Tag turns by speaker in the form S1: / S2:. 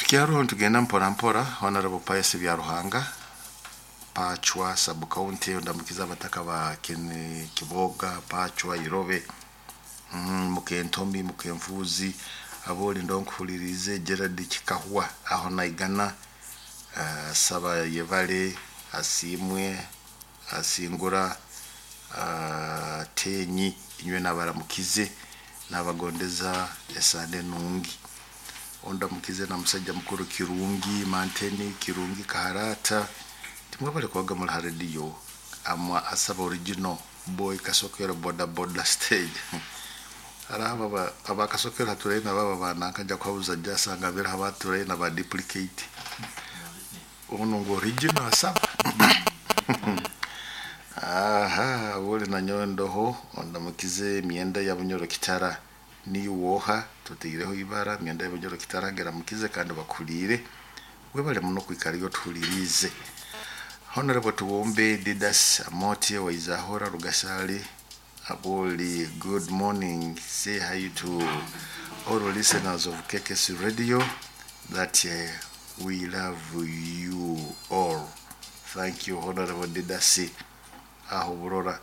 S1: Tukyaro nitugenda mpora mpora. Honorable Pius Byaruhanga, Pachwa sub county, ndamukiza abataka ba Kiboga, Pachwa, Irobe, Mukentomi, Mukenfuzi, aboli ndonkuhulirize. Gerard Kikahwa aho naigana, saba yebale asimwe asingura, tenyi inywe nabaramukize, nabagondeza esande nungi. Ondamukize na musajja mukuru Kirungi Manteni, Kirungi Kaharata, timwebale kubaga muri ha radio amwa asaba original boy Kasokero boda boda stage. Hariho abakasokero haturaine baba bananka nja kuhabuza jasanga abere abaturaine ba duplicate ono ngu original asaba. Aha buli nanyowe ndoho ondamukize emyenda ya Bunyoro Kitara niwoha tuteireho ibara myenda ya Bunyoro Kitara geramukize kandi bakuliire webale muno kwikara otuhuliriize. Honorable Tuwombe Didas Amotie Waizahora Rugasali Aboli, good morning. Say hi to all listeners of KKS Radio that we love you all. Thank you, Honorable Didasi. Aho burora.